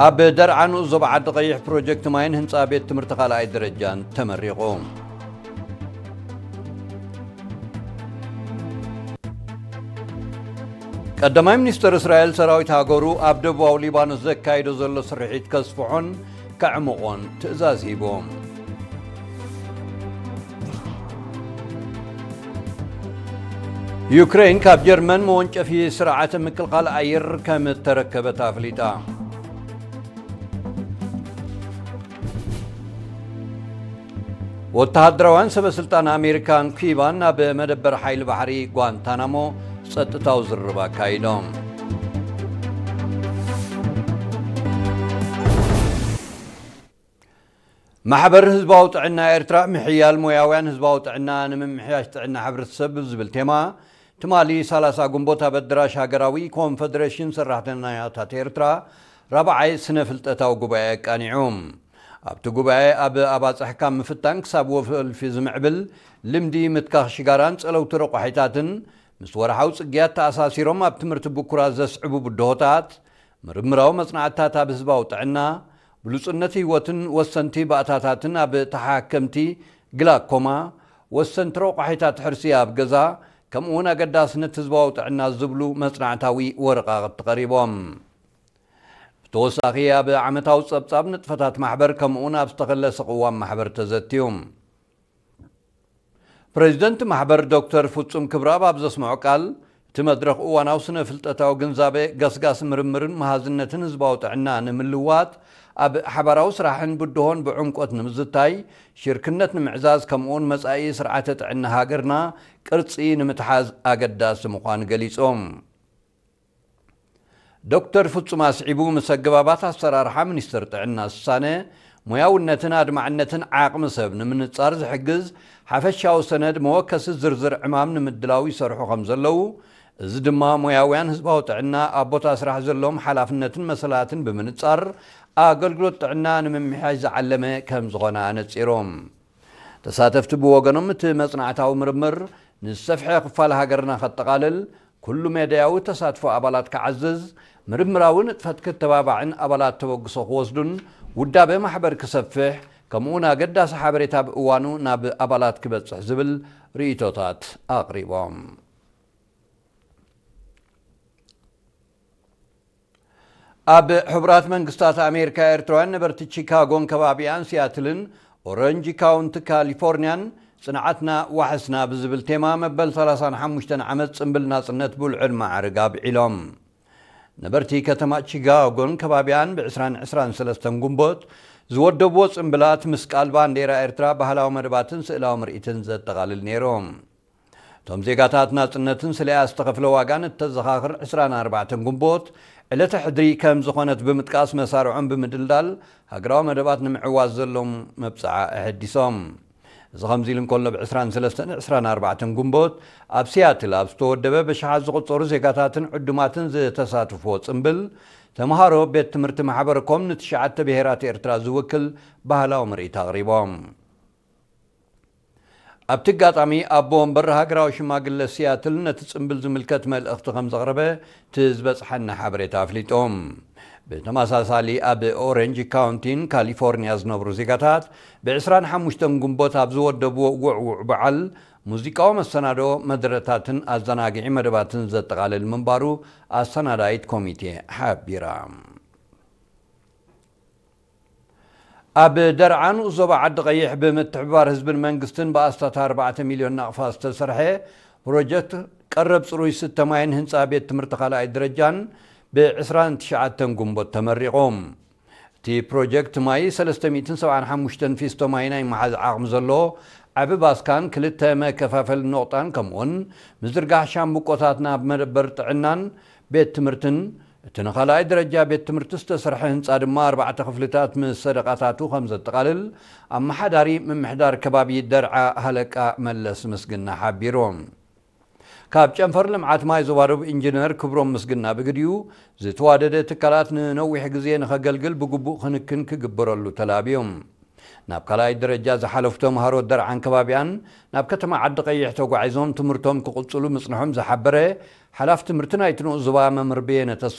ኣብ ደርዓ ንኡስ ዞባ ዓዲ ቀይሕ ፕሮጀክት ማይን ህንፃ ቤት ትምህርቲ ካልኣይ ደረጃን ተመሪቑ። ቀዳማይ ሚኒስትር እስራኤል ሰራዊት ሃገሩ ኣብ ደቡባዊ ሊባኖስ ዘካይዶ ዘሎ ስርሒት ከስፍሖን ከዕምቖን ትእዛዝ ሂቡ። ዩክሬን ካብ ጀርመን መወንጨፊ ስርዓተ ምክልኻል ኣየር ከም እተረከበት ኣፍሊጣ። ወተሃደራውያን ሰበ ስልጣን ኣሜሪካን ኪባን ናብ መደበር ሓይሊ ባሕሪ ጓንታናሞ ጸጥታዊ ዝርርብ ኣካይዶም። ማሕበር ህዝባዊ ጥዕና ኤርትራ፣ ምሕያል ሞያውያን ህዝባዊ ጥዕና ንምምሕያሽ ጥዕና ሕብረተሰብ ብዝብል ቴማ፣ ትማሊ ሰላሳ ግንቦት ኣብ ኣደራሽ ሃገራዊ ኮንፈደሬሽን ሰራሕተኛታት ኤርትራ ራብዓይ ስነ ፍልጠታዊ ጉባኤ ኣቃኒዑ። ኣብቲ ጉባኤ፣ ኣብ ኣባጽሕ ካብ ምፍታን ክሳብ ወልፊ ዝምዕብል ልምዲ ምትካኽ ሽጋራን ጸለውቲ ረቋሒታትን፣ ምስ ወርሓዊ ጽግያት ተኣሳሲሮም ኣብ ትምህርቲ ብኩራት ዘስዕቡ ብድሆታት፣ ምርምራዊ መጽናዕትታት ኣብ ህዝባዊ ጥዕና፣ ብሉጽነት ህይወትን ወሰንቲ ባእታታትን ኣብ ተሓከምቲ ግላኮማ፣ ወሰንቲ ረቋሒታት ሕርሲ ኣብ ገዛ፣ ከምኡውን ኣገዳስነት ህዝባዊ ጥዕና ዝብሉ መጽናዕታዊ ወረቓቕቲ ቀሪቦም። ብተወሳኺ፣ ኣብ ዓመታዊ ጸብጻብ ንጥፈታት ማሕበር፣ ከምኡውን ኣብ ዝተኸለሰ ቅዋም ማሕበር ተዘትዩ። ፕሬዚደንት ማሕበር ዶክተር ፍጹም ክብረኣብ ኣብ ዘስምዖ ቃል፣ እቲ መድረኽ እዋናዊ ስነ ፍልጠታዊ ግንዛበ፣ ገስጋስ ምርምርን መሃዝነትን ህዝባዊ ጥዕና ንምልዋጥ፣ ኣብ ሓባራዊ ስራሕን ብድሆን ብዕምቆት ንምዝታይ፣ ሽርክነት ንምዕዛዝ፣ ከምኡውን መጻኢ ስርዓተ ጥዕና ሃገርና ቅርጺ ንምትሓዝ ኣገዳሲ ምዃኑ ገሊጾም። ዶክተር ፍጹም ኣስዒቡ፣ ምስ ኣገባባት ኣሰራርሓ ሚኒስቴር ጥዕና ዝሳነ፣ ሞያውነትን ኣድማዕነትን ዓቕሚ ሰብ ንምንጻር ዝሕግዝ ሓፈሻዊ ሰነድ መወከሲ ዝርዝር ዕማም ንምድላው ይሰርሑ ከም ዘለዉ፣ እዚ ድማ ሞያውያን ህዝባዊ ጥዕና ኣብ ቦታ ስራሕ ዘለዎም ሓላፍነትን መሰላትን ብምንጻር ኣገልግሎት ጥዕና ንምምሕያሽ ዝዓለመ ከም ዝኾነ ኣነጺሮም። ተሳተፍቲ ብወገኖም፣ እቲ መጽናዕታዊ ምርምር ንዝሰፍሐ ክፋል ሃገርና ከጠቓልል፣ ኩሉ መዳያዊ ተሳትፎ ኣባላት ክዓዝዝ፣ ምርምራዊ ንጥፈት ክተባባዕን ኣባላት ተበግሶ ክወስዱን ውዳበ ማሕበር ክሰፍሕ፣ ከምኡውን ኣገዳሲ ሓበሬታ ብእዋኑ ናብ ኣባላት ክበጽሕ ዝብል ርእይቶታት ኣቕሪቦም። ኣብ ሕቡራት መንግስታት ኣሜሪካ ኤርትራውያን ነበርቲ ቺካጎን ከባቢኣን፣ ሲያትልን ኦረንጅ ካውንቲ ካሊፎርኒያን፣ ጽንዓትና ዋሕስና ብዝብል ቴማ፣ መበል ሰላሳን ሓሙሽተን ዓመት ጽምብል ናጽነት ብልዑል ማዕርግ ኣብዒሎም። ነበርቲ ከተማ ቺካጎን ከባቢኣን፣ ብዕስራን ዕስራን ሰለስተን ግንቦት ዝወደብዎ ጽምብላት፣ ምስ ቃል ባንዴራ ኤርትራ፣ ባህላዊ መደባትን ስእላዊ ምርኢትን ዘጠቓልል ነይሩ። እቶም ዜጋታት፣ ናጽነትን ስለያ ዝተኸፍለ ዋጋን እተዘኻኽር ዕስራን ኣርባዕተን ግንቦት፣ ዕለተ ሕድሪ ከም ዝኾነት ብምጥቃስ፣ መሳርዖም ብምድልዳል፣ ሃገራዊ መደባት ንምዕዋት ዘለዎም መብጽዓ ኣሐዲሶም። እዚ ከምዚ ኢሉ እንከሎ፣ ብ ዕስራን ሰለስተን ዕስራን ኣርባዕተን ግንቦት፣ ኣብ ሲያትል ኣብ ዝተወደበ፣ ብሽሓት ዝቑጸሩ ዜጋታትን ዕዱማትን ዝተሳትፍዎ ጽምብል፣ ተምሃሮ ቤት ትምህርቲ ማሕበረ ኮም ንትሽዓተ ብሄራት ኤርትራ ዝውክል ባህላዊ ምርኢት ኣቕሪቦም። ኣብቲ ኣጋጣሚ፣ ኣቦ ወንበር ሃገራዊ ሽማግለ ሲያትል ነቲ ጽምብል ዝምልከት መልእኽቲ ከም ዘቕረበ እቲ ዝበጽሓና ሓበሬታ ኣፍሊጡ። ብተመሳሳሊ፣ ኣብ ኦሬንጅ ካውንቲን ካሊፎርኒያ ዝነብሩ ዜጋታት፣ ብ ዕስራን ሓሙሽተን ግንቦት ኣብ ዝወደብዎ ውዕዉዕ በዓል፣ ሙዚቃዊ መሰናዶ፣ መደረታትን ኣዘናግዒ መደባትን ዘጠቓልል ምንባሩ ኣሰናዳኢት ኮሚቴ ሓቢራ። ኣብ ደርዓ ንኡስ ዞባ ዓዲ ቀይሕ፣ ብምትሕብባር ህዝብን መንግስትን ብኣስታት ኣርባዕተ ሚልዮን ናቕፋ ዝተሰርሐ ፕሮጀክት ቀረብ ጽሩይ ስተ ማይን ህንጻ ቤት ትምህርቲ ካልኣይ ደረጃን፣ ብ ዕስራን ትሽዓተን ግንቦት ተመሪቑ። እቲ ፕሮጀክት ማይ፣ ሰለስተ ሚእትን ሰብዓን ሓሙሽተን ፊስቶ ማይ ናይ መሓዝ ዓቕሚ ዘለዎ ዓቢ ባስካን ክልተ መከፋፈሊ ነቑጣን፣ ከምኡውን ምዝርጋሕ ሻምብቆታት ናብ መደበር ጥዕናን ቤት ትምህርትን፣ እቲ ንኻልኣይ ደረጃ ቤት ትምህርቲ ዝተሰርሐ ህንጻ ድማ፣ ኣርባዕተ ክፍልታት ምስ ሰደቓታቱ ከም ዘጠቓልል፣ ኣመሓዳሪ ምምሕዳር ከባቢ ደርዓ ሃለቃ መለስ ምስግና ሓቢሩ። ካብ ጨንፈር ልምዓት ማይ ዞባ ደቡብ ኢንጂነር ክብሮም ምስግና ብግዲኡ፣ ዝተዋደደ ትካላት ንነዊሕ ግዜ ንኸገልግል ብግቡእ ክንክን ክግበረሉ ተላብዩ። ናብ ካልኣይ ደረጃ ዝሓለፉ ተምሃሮ ደርዓን ከባቢኣን፣ ናብ ከተማ ዓዲ ቀይሕ ተጓዒዞም ትምህርቶም ክቕጽሉ ምጽንሖም ዝሓበረ ሓላፊ ትምህርቲ ናይቲ ንኡስ ዞባ መምህር በየነ ተስፋ